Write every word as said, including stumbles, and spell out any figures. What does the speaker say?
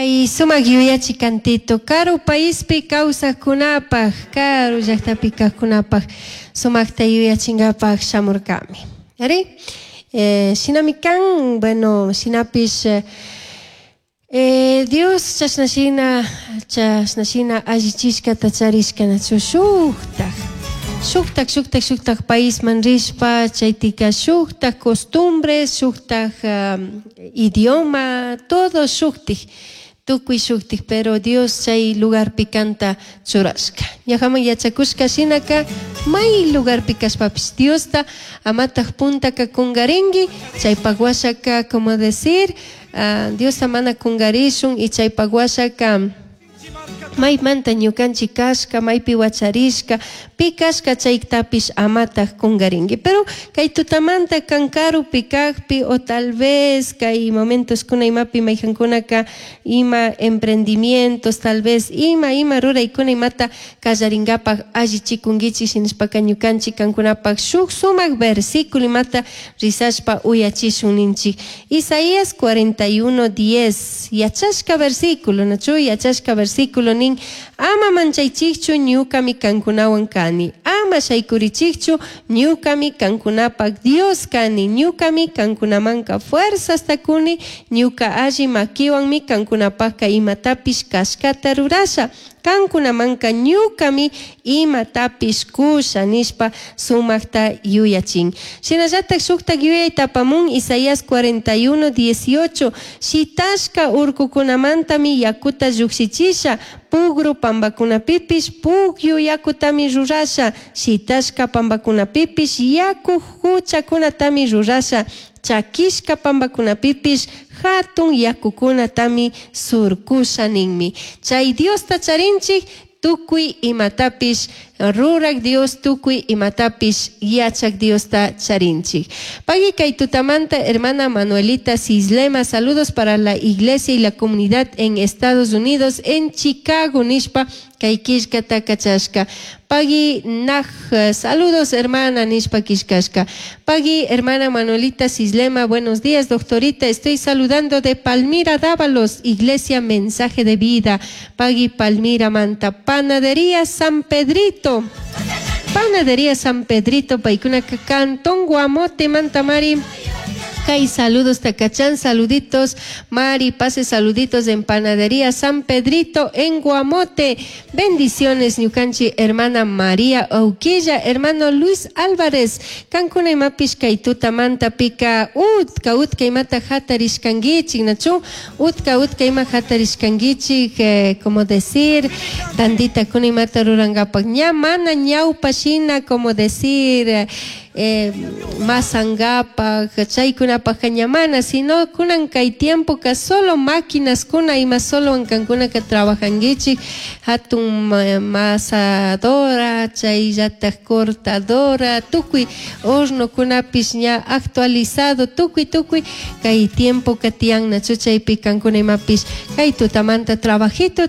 Kay sumak yuyachi kantito karu paispi kawsaqkunapaq karu llaqtapi kaqkunapaq sumakta yuyachinkapak shamurkami. Ari? Eh, shinami kan, bueno, shinapish eh, Dios chashna shina chashna shina allichishkata charishkanachu shuktak shuktak shuktak shuktak paisman rishpa chaytika shuktak costumbres shuktak um, idioma todo shuktik tukuy shuktik pero Dios chay lugarpi kanta churashka ñajaman yachakushka shinaka may lugarpi kashpapish Diosta amataq puntaka kungarinki chaypak washaka como decir uh, Diosta mana kungarishun y chaypak washaka maymanta ñukanchik kashka maypi wacharishka pi kashka chaytapish amataq kungarinki pero kay tutamanta kan karupi kakpi o tal vez kay momentoskuna imapi mayjankunaka ima emprendimientos tal vez ima ima ruraykuna imata kallarinkapak allichikunkichik shinashpaka ñukanchik kankunapak shuk sumak versículo imata rizashpa uyachishun ninchik Isaías cuarenta y uno diez yachashka versículo nachu yachashka versículo nin ama manchaychikchu ñukami kankunawan kani ama shaykurichikchu ñukami kankunapak Dios kani ñukami kankunamanka fuerzasta kuni ñuka alli makiwanmi kankunapakka imatapish kashkata rurasha kankunamanka ñukami imatapish kusha nishpa sumakta yuyachin shinallatak shuktak yuyayta apamun Isaías cuarenta y uno dieciocho shitashka urkukunamantami yakuta llukshichisha pugru pambakunapipish pukyu yakutami rurasha shitashka pambakunapipish yaku huchakunatami rurasha chakishka pambakunapipish hatun yakukunatami surkusha ninmi chay Diosta charinchik tukuy imatapish rurak Dios tukuy imatapish yachak Diosta charinchik. Pagui kay tutamanta hermana Manuelita Cislema, saludos para la iglesia y la comunidad en Estados Unidos, en Chicago, nishpa kay killkata kachashka. Pagui naj, saludos hermana nishpa killkashka. Pagui hermana Manuelita Cislema, buenos días doctorita, estoy saludando de Palmira Dávalos, iglesia Mensaje de Vida. Pagui Palmira Manta, Panadería San Pedrito. Panadería San Pedrito, paykunaka Cantón Guamote, Mantamari. Kay saludos Tacachán, saluditos Mari, pase saluditos en Panadería San Pedrito en Guamote. Bendiciones ñukanchi hermana María Auquilla, hermano Luis Álvarez. Kankuna imapish kay tutamanta pika utka utka imata hatarishkankichik, nachu utka utka ima hatarishkankichik, eh, como decir, tandita kuna imata rurangapak ña mana ñawpa shina, como decir, eh, eh, masangapak, chaykunapak ñamana, sino kunan kay tiempo ka solo máquinas kuna ima solo ankankuna ka trabajankichik, hatun masadora, chayllatak cortadora, tukuy hornokunapish ña actualizado, tukuy tukuy kay tiempo ka tiyan nachu chaypi kankuna imapish kay tutamanta trabajito